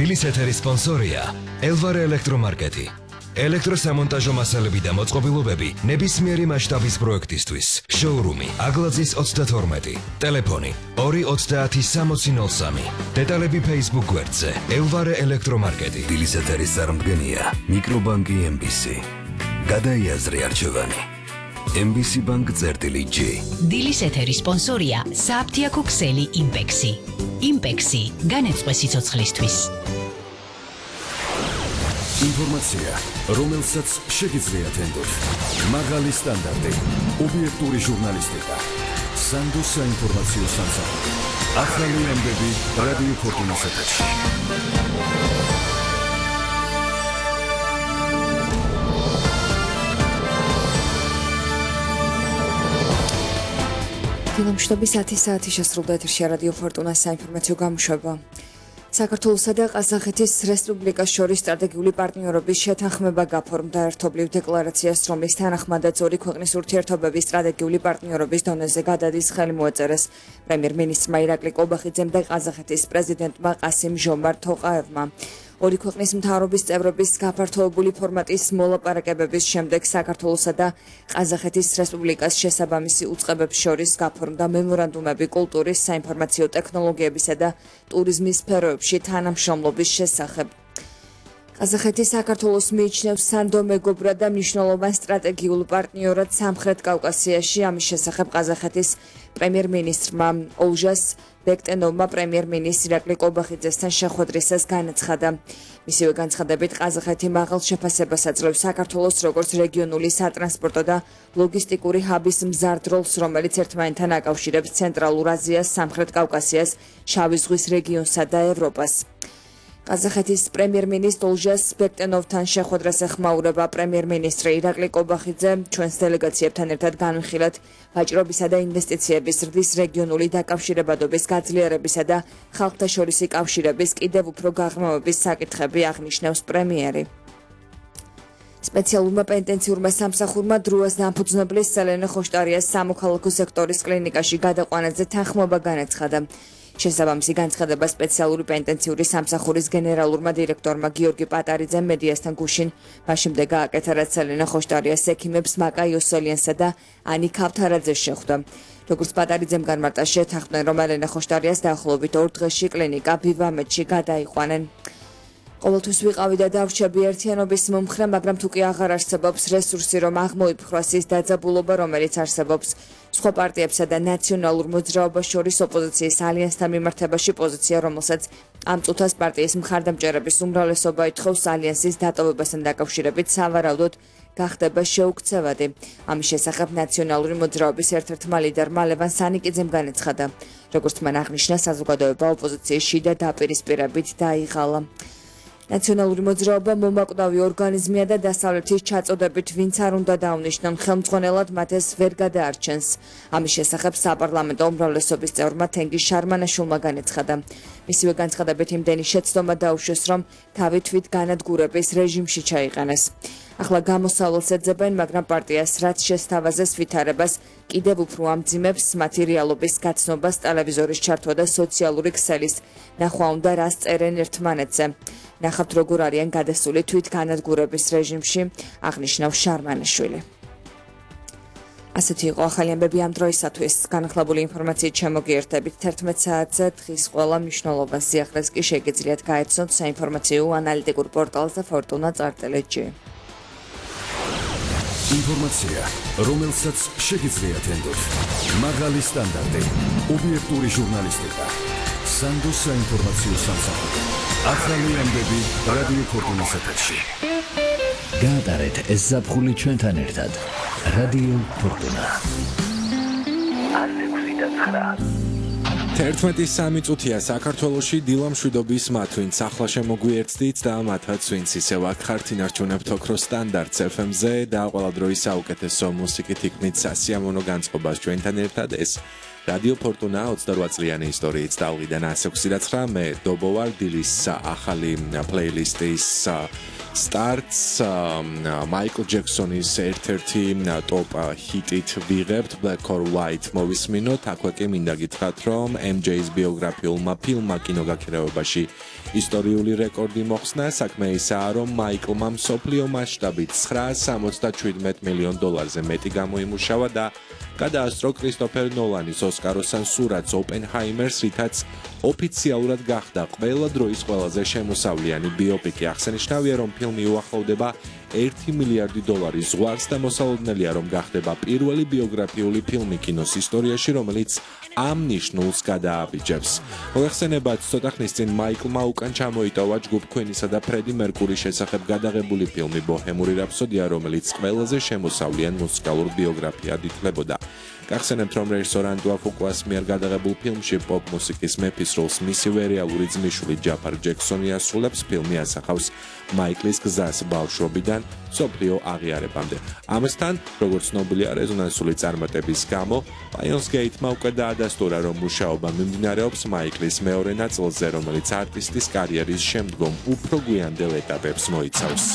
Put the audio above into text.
დილის ეთერის სპონსორია ელვარე ელექტრომარკეტი. ელექტროსამონტაჟო მასალები და მოწყობილობები ნებისმიერი მასშტაბის პროექტისთვის. შოურუმი აგლაძის 32. ტელეფონი 230-6003. დეტალები Facebook გვერდზე ელვარე ელექტრომარკეტი. დილის ეთერის წარმდგენია მიკრობანკი MBC. გადაიაზრე არჩევანი. MBC Bank წერტილი-G. დილის ეთერის სპონსორია სააფთიაქო ქსელი იმპექსი. იმპექსი განეწყვე სიცოცხლისთვის. ინფორმაცია, რომელსაც შეგიძლიათ ენდოთ. მაღალი სტანდარტი, ობიექტური ჟურნალისტიკა. სანდო საინფორმაციო სამსახური. ახალი ამბები რადიო ფორტუნას ეთერში. დილამშვიდობის 10 საათი შესრულდა ეთერში რადიო ფორტუნას საინფორმაციო გამოშვება. საქართველოსა და ყაზახეთის რესპუბლიკას შორის სტრატეგიული პარტნიორობის შეთანხმება გაფორმდა ერთობლივ დეკლარაციას, რომლის თანახმადაც ორი ქვეყნის ურთიერთობების სტრატეგიული პარტნიორობის დონეზე გადადის ხელი მოეწერეს პრემიერ-მინისტრმა ირაკლი ყობახიძემ და ყაზახეთის პრეზიდენტმა ყასიმ ჟომართ თოყაევმა. ორი ქვეყნის მთავრობის წევრების გაფართოებული ფორმატის მოლაპარაკებების შემდეგ საქართველოსა და ყაზახეთის რესპუბლიკას შესაბამისი უწყებებს შორის გაფორმდა მემორანდუმები კულტურის, საინფორმაციო ტექნოლოგიებისა და ტურიზმის სფეროებში თანამშრომლობის შესახებ. ყაზახეთი საქართველოს მიიჩნევს სანდო მეგობრად და მნიშვნელოვან სტრატეგიულ პარტნიორად სამხრეთ კავკასიაში. ამის შესახებ ყაზახეთის პრემიერ-მინისტრმა ოლჟას ბექტენოვმა პრემიერ-მინისტრ ირაკლი ყობახიძესთან შეხვედრისას განაცხადა. მისივე განცხადებით ყაზახეთი მაღალ შეფასებას აძლევს საქართველოს როგორც რეგიონული სატრანსპორტო და ლოგისტიკური ჰაბის მზარდ როლს, რომელიც ერთმანეთთან აკავშირებს ცენტრალურ აზიას, სამხრეთ კავკასიას, შავი ზღვის რეგიონსა და ევროპას. ყაზახეთის პრემიერ-მინისტრ ოლჟას ბექტენოვთან შეხვედრას ეხმაურება პრემიერ-მინისტრი ირაკლი ყობახიძე. ჩვენს დელეგაციებთან ერთად განვიხილეთ ვაჭრობისა და ინვესტიციების ზრდის რეგიონული დაკავშირებადობის გაძლიერებისა და ხალხთა შორისი კავშირების კიდევ უფრო გაღრმავების საკითხები, აღნიშნავს პრემიერი. სპეციალურმა პენტენციურმა სამსახურმა დროას დამფუძნებლის სელენე ხოშტარიას სამოქალაქო სექტორის კლინიკაში გადაყვანაზე თანხმობა განაცხადა. შესაბამისი განცხადება სპეციალური პენტენციური სამსახურის გენერალურმა დირექტორმა გიორგი პატარიძემ მედიასთან გუშინ მაშინდე გააკეთა, რაც სელენე ხოშტარიას ექიმებს მაკა იოსელიანსა და ანი ქავთარაძეს შეხვდა. როგორც პატარიძემ განმარტა, შეთანხმდნენ, რომ ელენე ხოშტარიას დაახლოებით 2 დღეში კლინიკა ბივამეთში გადაიყვანენ. ყოველთვის ვიყავი და დავრჩები ერთიანობის მომხრე, მაგრამ თუ კი აღარ არსებობს რესურსი, რომ აღმოიფხვრას ის დაძაბულობა, რომელიც არსებობს სხვა პარტიებსა და ნაციონალურ მოძრაობას შორის ოპოზიციის ალიანსთან მიმართებაში პოზიცია, რომელსაც ამ წუთას პარტიის მხარდამჭერების უმრავლესობა ითხოვს ალიანსის დატოვებასთან დაკავშირებით, სავარაუდოდ გახდება შეუქცევადი. ამის შესახებ ნაციონალური მოძრაობის ერთ-ერთმა ლიდერმა ლევან სანიკიძემ განაცხადა. როგორც მან აღნიშნა, საზოგადოება ოპოზიციის შიდა დაპირისპირებით დაიღალა. ნაციონალური მოძრაობა მომაკვდავი ორგანიზმია და დასავლეთის ჩაწოდებით ვინც არ უნდა დაუნიშნონ ხელმძღვანელად მათ ეს ვერ გადაარჩენს. ამის შესახებ საპარლამენტო უმრავლესობის წევრმა თენგიზ შარმანაშვილმა განაცხადა. მისივე განცხადებით იმდენი შეცდომა დაუშვეს, რომ თავი თვით განადგურების რეჟიმში ჩაიყენეს. ახლა გამოსავალს ეძებენ, მაგრამ პარტიას რაც შესთავაზეს ვითარებას კიდევ უფრო ამძიმებს მათი რეალობის გაცნობას, ტელევიზორის ჩართვა და სოციალური ქსელის ნახვა უნდა, რას წერენ ერთმანეთზე. ნახავთ, როგორ არიან გადასული თვით განადგურების რეჟიმში, აღნიშნავს შარმანაშვილი. ასეთი იყო ახალი ამბები ამ დროისათვის. განახლებული ინფორმაციით შემოგიერთებით 11 საათზე. დღის ყველა მნიშვნელოვან სიახლეს კი შეგიძლიათ გაეცნოთ საინფორმაციო ანალიტიკურ პორტალზე fortuna.gr. ინფორმაცია, რომელსაც შეგიძლიათ ენდოთ. მაღალი სტანდარტი, ობიექტური ჟურნალისტიკა. სანდო საინფორმაციო სამსახური. ახალი ამბები რადიო ფორტუნას ეთერში. გაატარეთ ეს ზაფხული ჩვენთან ერთად. რადიო ფორტუნა. 11:03 წუთია საქართველოში დილამშვიდობის მათ, ვინც ახლა შემოგვიერთდით და მათაც, ვინც ისევ აქ ხართ, ინარჩუნებთ ოქროს სტანდარტს FM-ზე და ყველა დროის საუკეთესო მუსიკით იქმნით სასიამოვნო განწყობას ჩვენთან ერთად. ეს რადიო ფორტუნა 28 წლიანი ისტორიით დავყიდან 129 დობო ვარ დილის ახალი პლეილისტის starts Michael Jackson-ის ერთ-ერთი ტოპ ჰიტით ვიღებთ Black or White მოვისმინოთ აქვე კი მინდა გითხრათ რომ MJ-ის ბიოგრაფიულმა ფილმმა კინოგაქირავებაში ისტორიული რეკორდი მოხსნა საქმე ისაა რომ მაიკლმა მსოფლიო მასშტაბით $977 მილიონ მეტი გამოიმუშავა და გადაასწრო კრისტოფერ ნოლანის ოსკაროსან სურათს ოპენჰაიმერს რითაც ოფიციალურად გახდა ყველა დროის ყველაზე შემოსავლიანი ბიოპიკი აღსანიშნავია რომ ფილმი უახლოვდება $1 მილიარდი ზღვარს და მოსალოდნელია რომ გახდება პირველი ბიოგრაფიული ფილმი კინოს ისტორიაში რომელიც ამ ნიშნულს გადააბიჯებს. მოგეხსენებათ, ცოტა ხნის წინ მაიკლმა უკან ჩამოიტოვა ჯგუფ Queen-ისა და ფრედი მერკურის შესახებ გადაღებული ფილმი ბოჰემური რაფსოდია, რომელიც ყველაზე შემოსავლიან მუსიკალურ ბიოგრაფიად ითვლებოდა. გახსენებთ, რომ რეჟისორ ანდრუ ფუკუას მიერ გადაღებულ ფილმში პოპ მუსიკის მეფის როლს მისივე რეალური ძმისშვილი ჯაფარ ჯექსონი ასრულებს. ფილმი ასახავს მაიკლის გზას ბავშვობიდან მსოფლიო აღიარებამდე. ამასთან, როგორც ცნობილია რეზონანსული წარმატების გამო, Lionsgate-მა უკვე დაადასტურა, რომ მუშაობა მიმდინარეობს მაიკლის მეორე ნაწილზე, რომელიც არტისტის კარიერის შემდგომ უფრო გვიანდელ ეტაპებს მოიცავს.